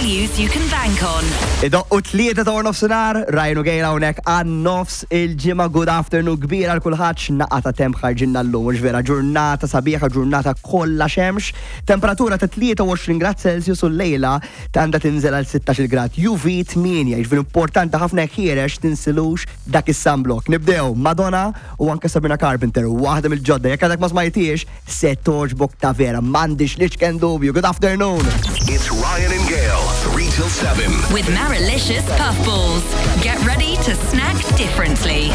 Values you can bank on. Idoqqu t-tlieta ta' nofsinhar, Ryan u Gail hawnhekk għan nofs il-ġimgħa. Good afternoon kbira għal kulħadd. X'naqa ta' temp ħarġinna llum, mhux vera? Ġurnata sabiħa, ġurnata kollha xemx. Temperatura ta' 23 grad Celsius u llejla għandha tinżel għal 16 grad. UV 8, jiġifieri importanti ħafna jekk ħiereġ tinsilux dak is-sunblock. Nibdew Madonna u anke Sabrina Carpenter, waħda mill-ġodda. Jekk għadek ma smajtiex, se togħġbok ta' vera, m'għandix l-iċken dubju. Good afternoon. It's Ryan and Gail, 3 till 7. With Marilicious Puffballs. Get ready to snack differently.